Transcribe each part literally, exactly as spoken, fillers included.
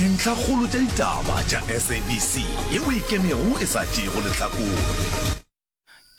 Dintlhakgolo tša ditaba tša S A B C yeo e ikemego e sa tšeego lehlakore.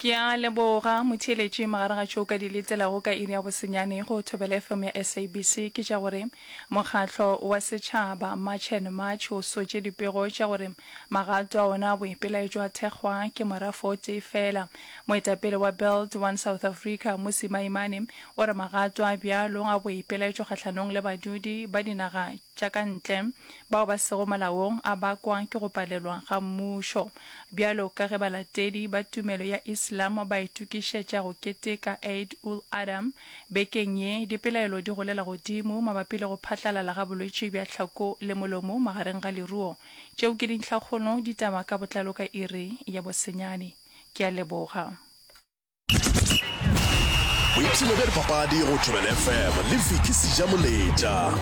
Ke a leboga motheeletši. Magareng ga tšeo ka di letelago ka iri ya bosenyane go Thobela F M ya S A B C ke tša gore mokgatlo wa setšhaba March and March o sotše dipego tša gore magato a ona a boipelaetšo a thekgwa ke morafo o tee fela. Moetapele wa Build One South Africa Mmusi Maimane o re magato a bjalo a boipelaetšo kgahlanong le badudi ba dinaga tša ka ntle bao ba sego molaong a bakwa ke go palelwa ga mmušo. Bjalo ka ge balatedi ba tumelo ya Islam ba itokišetša go keteka Eid ul-Adha bekeng ye, dipelaelo di golela godimo mabapi le go phatlalala ga bolwetši bja tlhako le molomo magareng ga leruo. Tšeo ke dintlhakgolo, ditaba ka botlalo ka iri ya bosenyane. Ke a leboga. Boipshino bja dipapadi go Thobela F M le Vicky Sejamoletša.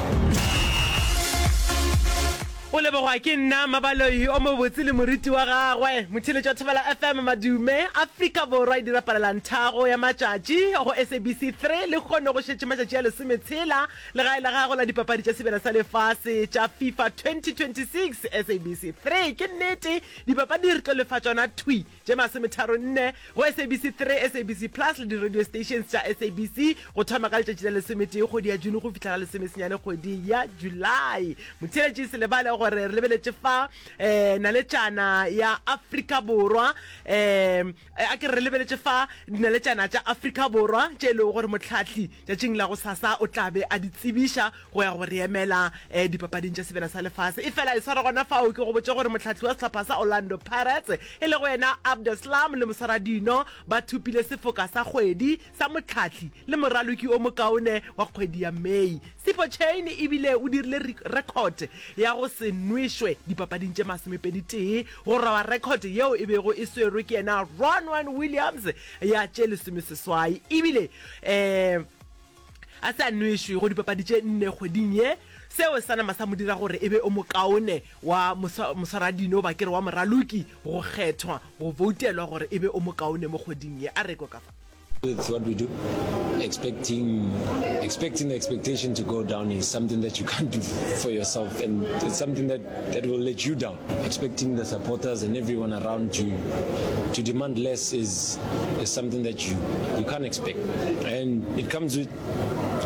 O lebogwa ke nna Mabaloi o mobotse le moriti wa gagwe. Motheeletši wa Thobela F M Madume, Afrika Borwa e dira palelantharo ya matšatši go S A B C three lehono go šetše matšatši a lesometshela legae la gago la dipapadi tša Sebjana sa Lefase tša FIFA twenty twenty-six S A B C three. Ke nnete, dipapadi re tlo lefa tšona thwi tše masometharo nne go S A B C three, S A B C Plus le di-radio stations tša S A B C go thoma ka letšatši la lesometee kgwedi ya June go fihla la lesomesenyane kgwedi ya July. Motheeletši, se lebale gore re lebeletše fa um naletšana ya Afrika Borwa, um a ke re lebeletše fa dinaletšana tša Afrika Borwa tše e lego gore motlhahli tšatšing la go sasa o tla be a di tsebiša go ya go re emela um dipapading tša Sebjana sa Lefase. E fela e swara gona fao ke go botše gore motlhahli wa sehlopha sa Orlando Pirates e lego yena Abdeslam le moswaradino ba thopile sefoka sa kgwedi sa motlhahli le moraloki o mokaone wa kgwedi ya May. Sipho Chaine ebile o dirile record ya go se nwešwe dipapading tše masomepedi tee, go roba record yeo e bego e swerwe ke yena Ronwen Williams ya tše lesomeseswai. Ebile um a se a nwešwe go dipapadi tše nne kgweding ye, seo sa nama sa mo dira gore e be o mokaone wa moswaradino, ba ke re wa moraloki, go kgethwa, go voutelwa gore e be o mokaone mo kgweding ye. A re kwe ka fa. With what we do, expecting expecting the expectation to go down is something that you can't do for yourself, and it's something that that will let you down. Expecting the supporters and everyone around you to demand less is is something that you you can't expect, and it comes with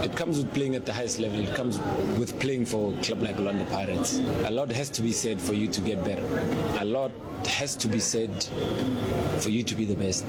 it comes with playing at the highest level. It comes with playing for a club like Orlando Pirates. A lot has to be said for you to get better. A lot has to be said for you to be the best.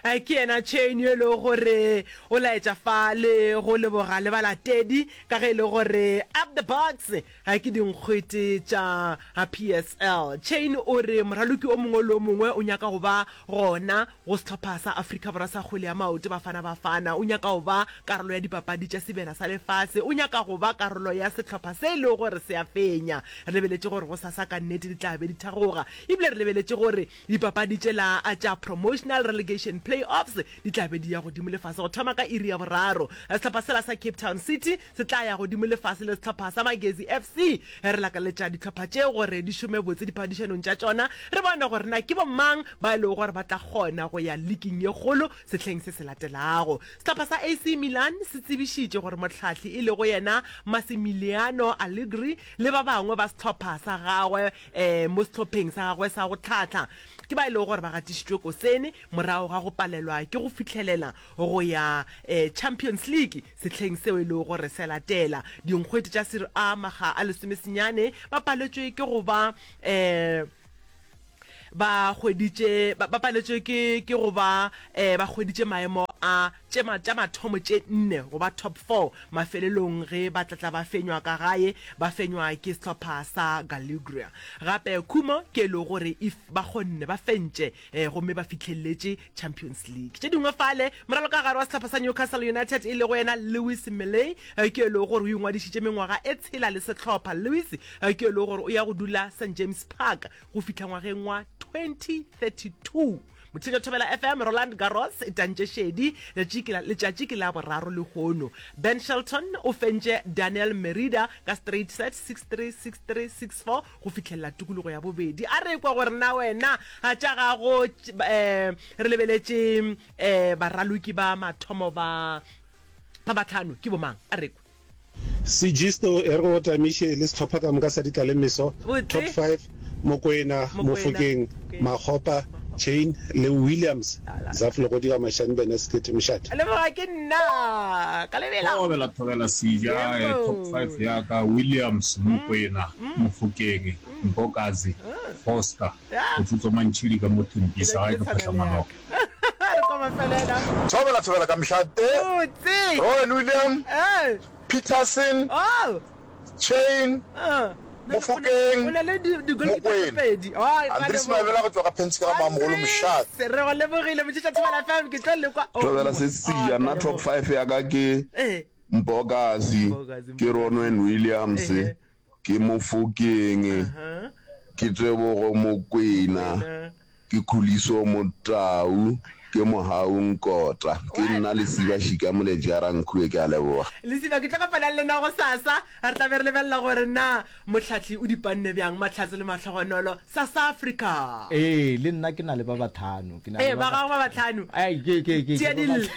Ke yena Chaine yo e lego gore o laetša fa le go leboga le balatedi ka ge e le gore Up the Bucks ke dinkgwete tša P S L. Chaine o re moraloki o mongwe le o mongwe o nyaka go ba gona go sehlopha sa Afrika Borwa sa kgwele ya maoto Bafana Bafana, o nyaka go ba karolo ya dipapadi tša Sebjana sa Lefase, o nyaka go ba karolo ya sehlopha se e lego gore se a fenya. Re lebeletše gore go sasa ka nnete di tla be di thagoga, ebile re lebeletše gore dipapadi tšela tša promotional relegation playoffs di tla be di ya godimo lefase go thoma ka iri ya boraro. Sehlopha sela sa Cape Town City se tla ya godimo lefase le sehlopha sa Magesi F C. Re lakaletša dihlopha tše gore di šome botse diphadišanong tša tšona, re bone gore na ke bomang ba e lego gore ba tla kgona go ya leaking ye kgolo sehleng se se latelago. Sehlopha sa A C Milan se tsebišitše gore mohlahli e lego yena Massimiliano Allegri le ba bangwe ba sehlopha sa gagwe um mo sehlopheng sa gagwe sa go tlhahla ke ba e lego gore ba gatišitšwe kosene morago ga go palelwa ke go fihlelela go ya um Champions League sehleng seo e lego gore se latela. Dinkgwete tša Serie A makga a lesomesenyane ba paletšwe ke go ba um ba hweditše ba paletšwe ke ke go ba um ba hweditše maemo a tše tša mathomo tše nne, go ba top four mafelelong ge ba tlatla ba fenywa ka gae, ba fenywa ke sehlopha sa Cagliari. Gape khumo ke e lego gore if ba kgonne ba fentše um gomme ba fihleletše Champions League. Tše dingwe fale, moraloka gare wa sehlopha sa Newcastle United e lego yena Lewis Miley ke e lego gore o ingwadišitše mengwaga e tshela le sehlopha. Lewis ke e lego gore o ya go dula Saint James Park go fihla ngwageng wa twenty thirty-two. Motheetši Thobela F M, Roland Garros e tantše šedi, letšatši ke la boraro lehono. Ben Shelton o fentše Daniel Merida ka straight set six three, six three, six four go fihlelela tikologo ya bobedi. A re kwa gore na wena tša gago um re lebeletše um baraloki ba mathomo ba ba batlhano ke bomang. A re kwe. Segisto e re go tamiše le sehlopha ka moka sa ditlalemeso, Botse. Top five, Mokoena, Mokoena, Mofokeng, Mofokeng. Makgopa, Chain le Williams, Zaf Legodi ga Mashani Bene Sekete Mošate. Leboga ke nna ka lebela. Thobela Thobela Seja, eh, top Yebo. five ya ka, Williams, Mokoena, Mofokeng, Mbokazi, Foster, Ya. Botsotso Mantšhidi ka mo Ke Thembisa, gae be ke ke tshwana le Phatlhamaloko. yaka. Re kwa mafelela. Thobela Thobela ka Mošate, Botse. Rowan William, Eh. Peterson, Oh. Chain, Uh. Mofokeng, O na le di di goalkeeper tse Mokwena. pedi. Oh, ra Andries leboga. Mabela go tšwa ga Phentsi ka ga Mamogolo Mošate. Andries, re go lebogile motšhetša Thobela F M ke tlo le kwa. Oh, Thobela se oh, seja ke a nna top leboga. five ya ka ke Eh. Mbokazi, Mbokazi, ke Mbokazi. Ronwen Williams, Ehe. ke Mofokeng, Uh-huh. ke Tebogo Mokwena, Mokwena. ke Khuliso Motau, ke Mohau Nkota. Ke nna Lesiba Šika Moletši a Rankhue, ke a leboga. Lesiba, ke tlo kopana le lena gosasa. Re tla be re lebelela gore na mohlahli o di panne bjang Mahlatse le Mahlogonolo Sasa Africa. Ee, le nna ke na le ba batlhano. Ke na Ee, le ba ba gago ba batlhano. Ai, ke ke ke Tia ke ba dille,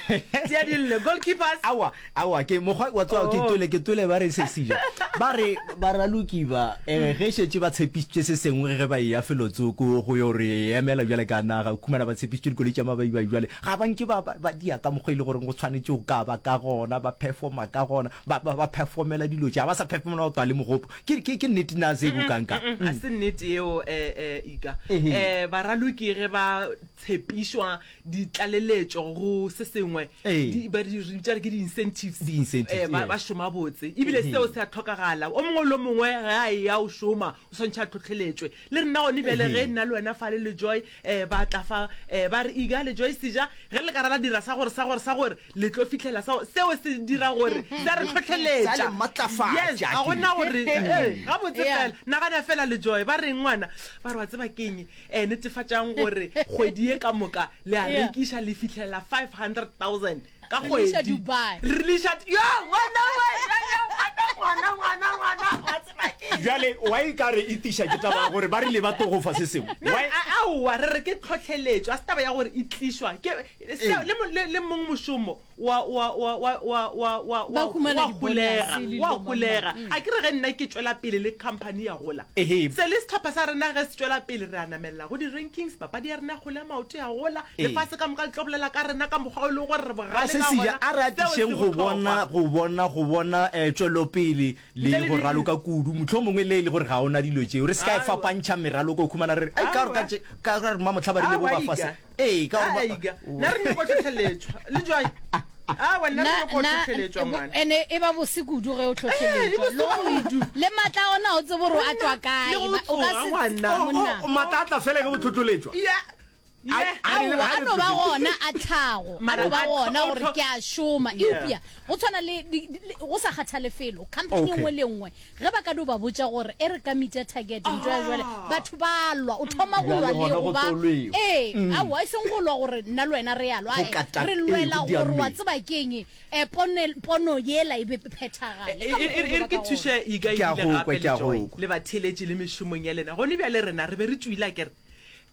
tia dille. Goalkeepers. Aowa, aowa, ke mokgwa wa tseba ke Oh. twele, ke twele ba re se seja. Ba re baraloki ba eh, ge šetše ba tshepišitše se sengwe ge ba eya felotsoko go yo re emela bjale ka naga, o khumana ba tshepišitše dikoloi tša mabaibai bjale ga ba nke ba, ba, ba dia ka mokgwa e le goreng go tshwanetše go ka ba ka gona, ba performa ka gona, ba, ba, ba performela dilo tše, ga ba sa performela go twa le mogopo. Ke, ke, ke nnete na se bo kang-kang? A se nnete yeo, eh, eh, Ika. Ehe. Eh, baraloki ge ba tshepišwa ditlaleletšo go se sengwe, Ee. di, ba di re bitša re ke di-incentives. Di-incentives, Eh, ba, yeah. ba šoma botse. Ebile Ehe. seo se a hlokagala. O mongwe le o mongwe ge a eya o šoma, o swantšhe a tlhohleletšwe. Le rena gone bjale Ehe. ge nna le wena fale le Joy, eh, ba tla fa, eh, ba re Ika le Joy Seja, ge le ka ra la dira sa gore, sa gore, sa gore, le tlo fihlela sa gore, seo se dira gore, se a re Sa tlhohleletša. le matlafatša, Yes, ga gona gore, ke. eh, gabotse Yeah. fela. Nagana fela le Joy, ba reng ngwana, ba re wa tseba keng, eh, netefatšang gore kgwedi ye ka moka le a Yeah. rekiša le fihlela five hundred thousand ka Re le iša kgwedi. Dubai. Re le iša, yo, ngwana we, yo, yo, ngwana, ngwana, ngwana, ngwana, wa tseba keng? Bjale why e ka re e tiša ke taba ya gore ba rile ba tlo go fa se sengwe? No, Why? a- aowa, re re ke tlhohleletšo, a se taba ya gore e tlišwa ke seo, le mo-, le, le mong mošomo wa, wa, wa, wa, wa, wa, wa, Ba wa, humana wa di-bonus holega, le dilo wa mang, holega. mang. A ke re ge nna ke tšwela pele le company ya gola. Ehe. Se le sehlopha sa rena ge se tšwela pele re a namelela go di-rankings, papadi ya rena ya kgole ya maoto ya gola, Ee. lefase ka moka le tlo bolela ka rena ka mokgwa o e leng gore re Ga bogale se ka seja, gona. a re Seo se atišeng go bohlokwa. bona, go bona, go bona, eh, tšwelopele le Ntle le go di- raloka kudu. Mohlomongwe le e le gore ga ona dilo tšeo, re se ka e Aowa. fapantšha meraloko, o khumana re re, ai, ka gore ka Aowa. tše, ka gore Mamohla ba rile bo Aowa, ba fase. Ika. Ee, ka gore ba- Ika. Nna re nyako tlhohleletšwa. Le Joy? Aowa, nna re Na- nyako na- tlhohleletšwa, ngwana. ene e ba bose kudu ge o Eh, e tlhohleletšwa. bose Le go- kudu. le matla a ona o tsebe gore a tšwa kae. Le go Ba- o ka tsoga, se ngwana. tse- monna. O, o, matla a tla fela ge o tlhohleletšwa. Yeah. Yeah. A- a re- Aowa, a a re no ba tlhohleletšwa. gona a tlhago. A Mara no ba a gona tlo- gore tlo- ke a šoma. Yeah. Eupša, go tshwana le di-, di-, le, go sa kgathale felo, company e Okay. nngwe le nngwe, ge ba ka no ba botša gore e re ka meet-a target, ntho ya jwale, batho ba lwa, o thoma go Bjale lwa le gona go go ba tlo lwewa. Ee, aowa, e seng go lwa gore nna le wena re a lwa, Go eh, kata- re ee, lwela go gore wa diameng. tseba keng, eh, pone-, pono yela e be phethagale. E, Ka e, e, mokgwa e re o ke ba ka thuše Ika Ke a ebile go gape kwa, le ke a Joy, go kwa. le batheeletši le mešomong ya lena. Gone bjale rena re be re tšwile akere.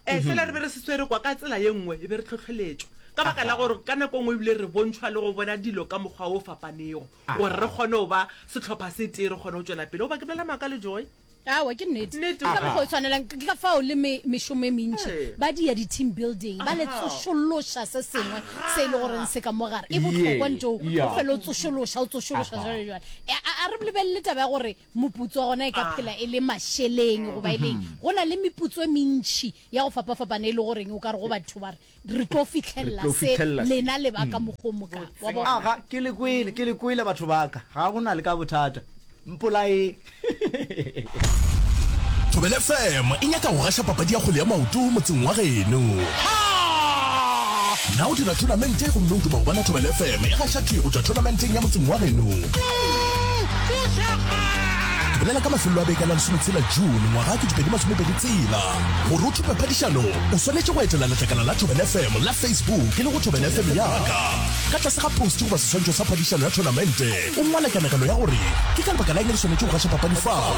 Eh, fela re be re se swere kwa ka tsela ye nngwe, e be re tlhohleletšwa. Ka baka la gore ka nako nngwe ebile re bontšhwa le go bona dilo ka mokgwa o fapanego, gore re kgone go ba sehlopha se tee, re kgone go tšwela pele. Goba ke bolela maaka le Joy? Aowa, ke nnete. Nnete. Ke ka mokgwa o tshwanelang. Ke ka fao le me-, mešomo e mentši. Ee. Ba dia di-team building, ba le Aha. tsošološa se sengwe se e le goreng se ka mo gare. E bohlokwa Yeah, ntho, o yeah. fele o tsošološa, o tsošološa jwale jwale. E, a, a re lebelele taba ya gore moputso wa gona e ka phela e le mašeleng goba e leng. Go na le meputso e mentši ya go fapafapana e le goreng o ka re go batho ba re, re tlo fitlhelela Re tlo se fitlhelela se. lena le ba ka mokgwa o moka. Wa bona? Aga, ke le kwele, ke le kwele batho ba ka. Ga go na le ka bothata. Mpolae. Thobela F M e nyaka go gaša papadi ya kgwele ya maoto motseng wa geno. Na o dira tournamente gomme o duma go bona Thobela F M e gaša thwi go tšwa tournamenteng ya motseng wa geno? Ke bolela ka mafelelo a beke a la lesometshela June ngwaga kete pedi masomepedi tshela. Gore o thope phadišano, o swanetše go etela letlakala la Thobela F M la Facebook e le go Thobela F M ya ka. Ka tlase ga post goba seswantšho sa phadišano ya thonamente, o ngwale kanegelo ya gore ke ka lebaka la eng re swanetše go gaša papadi fao.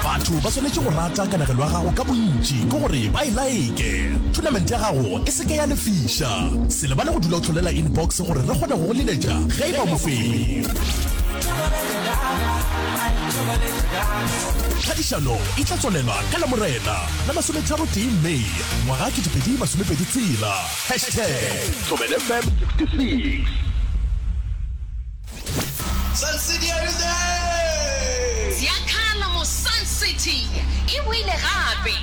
Batho ba swanetše go rata kanegelo ya gago ka bontši ke gore ba e laeke. Thonamente ya gago e se ke ya lefiša. Se lebale go dula o hlolela inbox gore re kgone go go leletša ge e ba o mofenyi. Phadišano e tla tswalelwa ka Lamorena la masometharo tee May ngwaga kete pedi masomepedi tshela. Hashtag Thobela F M sixty six. Sun City, are you there? Ziyakhala mo Sun City e boile gape.